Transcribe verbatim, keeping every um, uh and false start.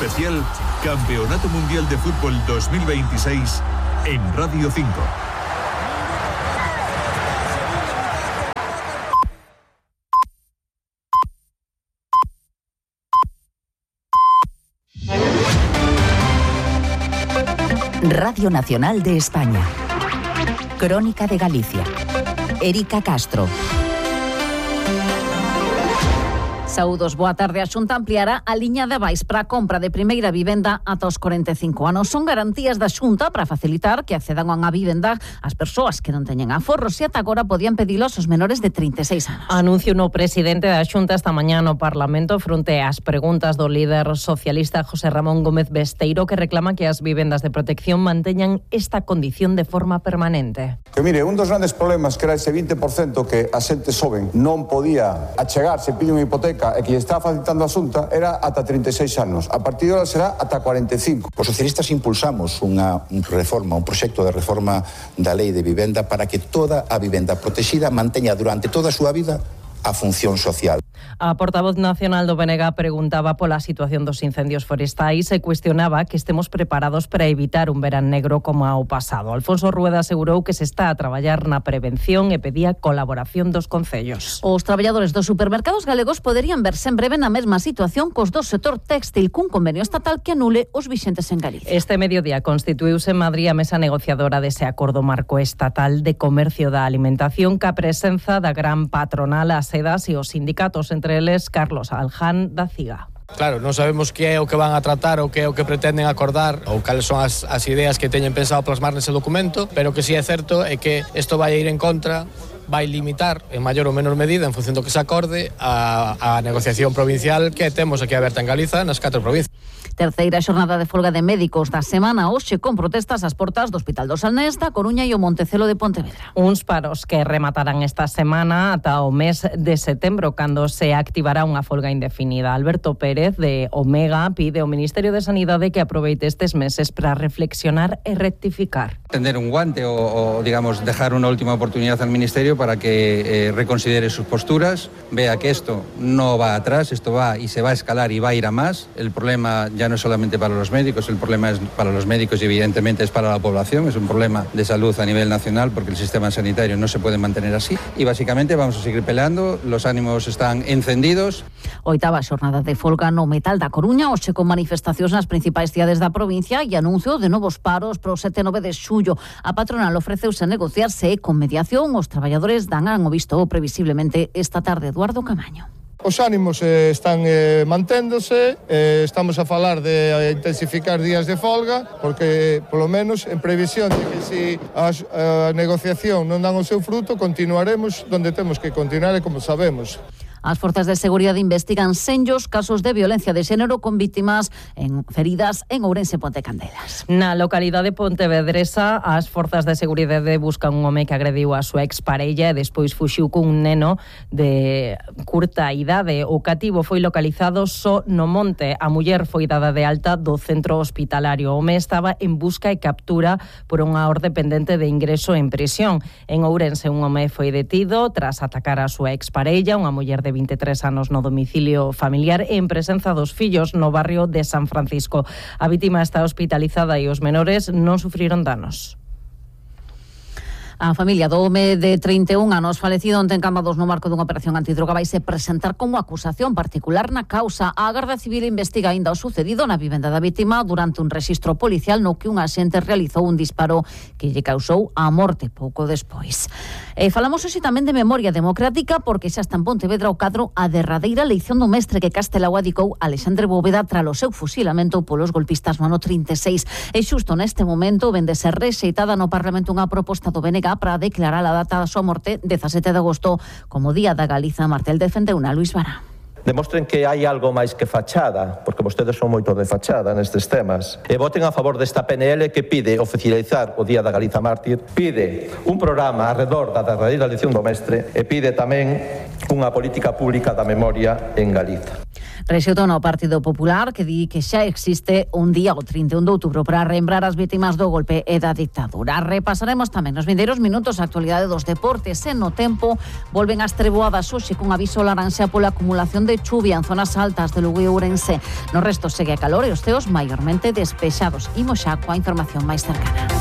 Especial Campeonato Mundial de Fútbol dos mil veintiséis en Radio cinco. Radio Nacional de España. Crónica de Galicia. Erika Castro. Saúdos, boa tarde. A Xunta ampliará a liña de avais para a compra de primeira vivenda ata os corenta e cinco anos. Son garantías da Xunta para facilitar que accedan a unha vivenda as persoas que non teñen aforros e ata agora podían pedilos os menores de trinta e seis anos. Anuncio no presidente da Xunta esta mañá no Parlamento fronte ás preguntas do líder socialista José Ramón Gómez Besteiro, que reclama que as vivendas de protección manteñan esta condición de forma permanente. Que mire, un dos grandes problemas que era ese vinte por cento que a xente xoven non podía achegarse, pide unha hipoteca e que lle está facilitando a Xunta era ata trinta e seis anos. A partir de ahora será ata cuarenta e cinco. Os socialistas impulsamos unha reforma, un proxecto de reforma da lei de vivenda para que toda a vivenda protexida manteña durante toda a súa vida a función social. A portavoz nacional do B N G preguntaba pola situación dos incendios forestais e cuestionaba que estemos preparados para evitar un verán negro como ao pasado. Alfonso Rueda asegurou que se está a traballar na prevención e pedía colaboración dos concellos. Os traballadores dos supermercados galegos poderían verse en breve na mesma situación cos do sector téxtil cun convenio estatal que anule os vixentes en Galicia. Este mediodía constituíuse en Madrid a mesa negociadora dese acordo marco estatal de comercio da alimentación ca presenza da gran patronal, as sedas e os sindicatos, entre eles Carlos Alján da Ciga. Claro, non sabemos que é o que van a tratar ou que é o que pretenden acordar ou cales son as, as ideas que teñen pensado plasmar nese documento, pero que si é certo é que isto vai ir en contra, vai limitar en maior ou menor medida en función do que se acorde a, a negociación provincial que temos aquí aberta en Galiza nas catro provincias. Terceira xornada de folga de médicos da semana hoxe con protestas ás portas do Hospital do Salnés, da Coruña e o Montecelo de Pontevedra. Uns paros que rematarán esta semana ata o mes de setembro, cando se activará unha folga indefinida. Alberto Pérez, de Omega, pide ao Ministerio de Sanidade que aproveite estes meses para reflexionar e rectificar. Tender un guante o, o digamos, dejar unha última oportunidad al Ministerio para que eh, reconsidere sus posturas, vea que esto no va atrás, esto va y se va a escalar y va a ir a más. El problema ya no es solamente para los médicos, el problema es para los médicos y evidentemente es para la población, es un problema de salud a nivel nacional porque el sistema sanitario no se puede mantener así y básicamente vamos a seguir peleando, los ánimos están encendidos. Oitava xornada de folga no Metal da Coruña, hoxe con manifestacións nas principais cidades da provincia e anuncio de novos paros pro sete e nove de xullo. A patronal ofreceuse a negociarse e con mediación os traballadores dan o visto previsiblemente esta tarde. Eduardo Camaño. Os ánimos eh, están eh, manténdose, eh, estamos a falar de eh, intensificar días de folga, porque, polo menos, en previsión de que se a, a negociación non dan o seu fruto, continuaremos donde temos que continuar e como sabemos. As forzas de seguridade investigan senllos casos de violencia de xénero con vítimas en feridas en Ourense e Ponte Candelas. Na localidade pontevedresa, as forzas de seguridade buscan un home que agrediu a súa exparella e despois fuxiu cun neno de curta idade. O cativo foi localizado só no monte. A muller foi dada de alta do centro hospitalario. O home estaba en busca e captura por unha orde pendente de ingreso en prisión. En Ourense, un home foi detido tras atacar a súa exparella, unha muller de vinte e tres anos no domicilio familiar e en presenza dos fillos no barrio de San Francisco. A vítima está hospitalizada e os menores non sufriron danos. A familia do home de trinta e un anos falecido onte en Cambados no marco dunha operación antidroga vai se presentar como acusación particular na causa. A Garda Civil investiga aínda o sucedido na vivenda da vítima durante un rexistro policial no que un axente realizou un disparo que lle causou a morte pouco despois. E falamos hoxe tamén de memoria democrática porque xa está en Pontevedra o cadro a derradeira leición do mestre que Castelao adicou Alexandre Bóveda tralo seu fusilamento polos golpistas no ano trinta e seis. E xusto neste momento vende ser rexeitada no Parlamento unha proposta do B N G para declarar a data da súa morte dezasete de agosto como Día da Galiza. Martel defendeu na Luís Vara. Demostren que hai algo máis que fachada, porque vostedes son moito de fachada nestes temas, e voten a favor desta P N L que pide oficializar o Día da Galiza Mártir, pide un programa arredor da derradeira lección do mestre e pide tamén unha política pública da memoria en Galiza. Rexeutou no Partido Popular, que di que xa existe un día o trinta e un de outubro para lembrar as vítimas do golpe e da dictadura. Repasaremos tamén nos vindeiros minutos a actualidade dos deportes e no tempo volven as treboadas hoxe con aviso laranxa pola acumulación de chuvia en zonas altas de Lugo e Ourense. No resto segue a calor e os ceos maiormente despexados. Imos xa coa información máis cercana.